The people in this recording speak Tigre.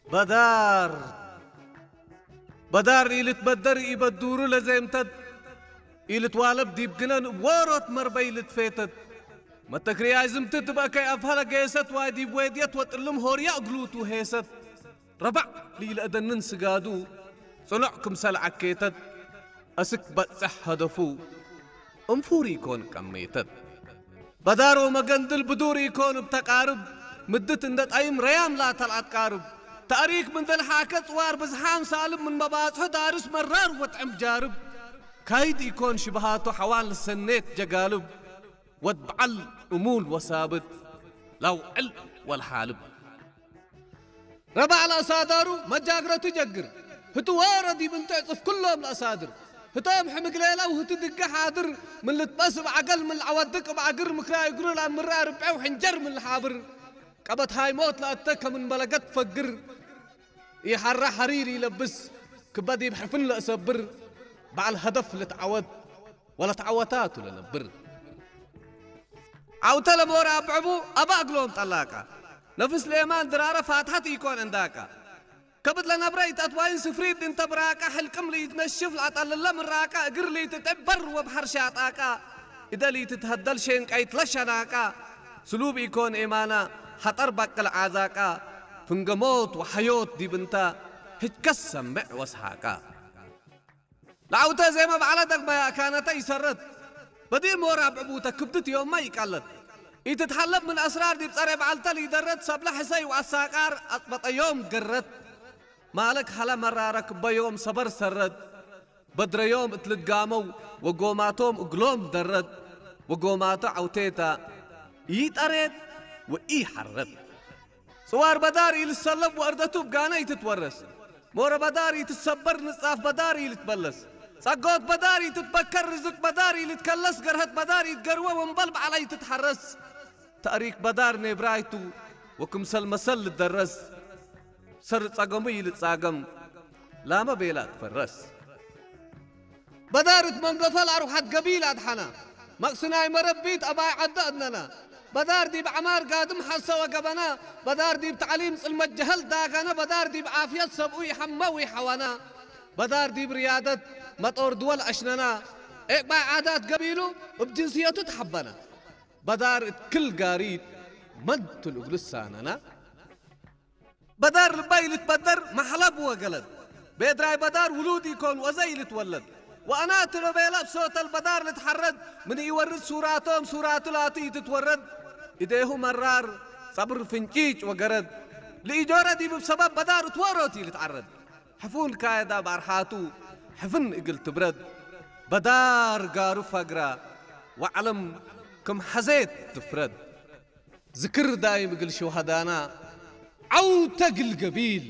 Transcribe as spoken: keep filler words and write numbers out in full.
በዳር። በዳር ኢልትበደር ኢበዱሩ ለዜምተት፣ ኢልትዋለብ ዲብ ግነን እብ ዎሮት መርበይ ልትፌተት። መተክርያይ ዝምትት እብ አከይ አፍሀ ለጌሰት፣ ዋይ ዲብ ዌድየት ወጥልም ሆርያ እግሉቱ ሄሰት። ረበዕ ለኢለአደንን ስጋዱ ጽኖዕ ክምሰል ዐኬተት፣ አስክ በጽሕ ሀደፉ እንፉር ኢኮን ቀሜተት። በዳር ወመገንድል ብዱር ኢኮን እብ ተቃርብ፣ ምድት እንደ ጣይም ረያም ላተ ለአትቃርብ። ተእሪክ ምን ደልሓከ ጽዋር ብዝሓም ሳልብ፣ ምን መባጽሑ ዳርስ መራር ወጥዕም ጃርብ። ካይድ ኢኮን ሽብሃቱ ሐዋል ሰኔት ጀጋልብ፣ ወድ በዐል እሙል ወሳብት ላውዕል ወልሓልብ። ረባዕ ለአሳዳሩ መጃግረቱ ጀግር፣ ህቱ ዎሮ ዲብ እንቱ ዕጽፍ ክሎም ለአሳድር። ህቶም ሕምግ ሌለው ህቱ ድገ ሓድር፣ ምን ልትበስ እብ ዐገል ምን ለዐወድቅ እብ ዐግር፣ ምክራይ እግሩ ለአምረ አርብዔው ሕንጀር ምን ለሓብር። ቀበት ሃይሞት ለአተ ከምን መለገት ፈግር፣ ኢሐራ ሐሪር ኢለብስ፣ ክበ ዲብ ሕፍን ለአሰብር፣ በዐል ሀደፍ ልትዐወት ወለትዐወታቱ ለነብር። ዐውተ ለሞር አብዕቡ አባ እግሎም ጠላቃ፣ ነፍስ ሌማን ድራረ ፋትሐት ኢኮን ዕንዳቃ። ከብድ ለነብረ ኢተአትዋይን ስፍሪት እንተ ብራቃ፣ ሕልቅም ለኢትነሽፍ ለአጠልለ ምራቃ፣ እግር ለኢትጥዕብ በር ወብሐር ሻጣቃ፣ እደ ለኢትትሀደል ሼንቀይት ለሸናቃ። ስሉብ ኢኮን ኤማና ሐጠር በቅል ዓዛቃ፣ ፍንገ ሞት ወሐዮት ዲብ እንተ ህጅከስ ሰምዕ ወሰሃቃ። ለዐውተ ዜመ በዐለ ደግመ አካነተ ኢሰረት፣ በዲር ሞር አብዕቡተ ክብድት ዮምመ ኢቀለት። ኢትትሐለብ ምን አስራር ዲብ ጸሬ በዐልተ ለኢደረት፣ ሰብለ ሕሰይ ወአሳቃር አጽበጠ ዮም ገረት። ማለክ ሀለ መራረ ክበ ዮም ሰበር ሰረት፣ በድረ ዮም እት ልትጋመው ወጎማቶም እግሎም ደረት፣ ወጎማቱ ዐውቴታ ኢጠሬት ወኢሐረት። ጽዋር በዳር ኢልትሰለብ ወእርደቱ እብ ጋነ ኢትትወረስ። ሞረ በዳር ኢትትሰበር፣ ንጻፍ በዳር ኢልትበለስ። ጸጎት በዳር ኢትትበከር፣ ርዝቅ በዳር ኢልትከለስ፣ ገርሀት በዳር ኢትገርወ፣ ወእምበል በዐለ ኢትትሐረስ። ተእሪክ በዳር ኔብራይቱ ወክምሰል መሰል ልትደረስ። ሰር ጸገሙ ኢልትጻገም፣ ላመ ቤላ ትፈረስ። በዳር እት መንገፈ ለአርወሐት ገቢል አድሐና፣ መቅስናይ መረቢት አባይ ዐደ አድነና። በዳር ዲብ ዐማር ጋድም ሐሰ ወገበና፣ በዳር ዲብ ተዕሊም ጽልመት ጀሀል ዳገነ፣ በዳር ዲብ ዓፍየት ሰብኡ ኢሐመ ወኢሐወና። በዳር ዲብ ርያደት መጦር ድወል አሽነና፣ ዔቅባይ ዓዳት ገቢሉ እብ ጅንስየቱ ተሐበነ። በዳር እት ክል ጋሪት መንቱ እግሉ ሳነና። በዳር ልባይ ልትበደር መሕለብ ወገለድ። ቤድራይ በዳር ውሉድ ኢኮን ወዘይ ልትወለድ። ወአናትሎ ቤለ እብ ሶተል በዳር ልትሐረድ። ምን ኢወርድ ሱራቶም ሱራቱ ላቱ ኢትትወረድ። እዴሁ መራር ጸብር ፍንጪጭ ወገረድ። ለኢጆረ ዲብ እብ ሰበብ በዳር እት ዎሮት ኢልትዐረድ። ሕፉን ካየዳ በአርሓቱ ሕፍን እግል ትብረድ። በዳር ጋሩ ፈግራ ወዐለም ክም ሐዜት ትፍረድ። ዝክር ዳይም እግል ሹሀዳና፣ ዐውተ እግል ገቢል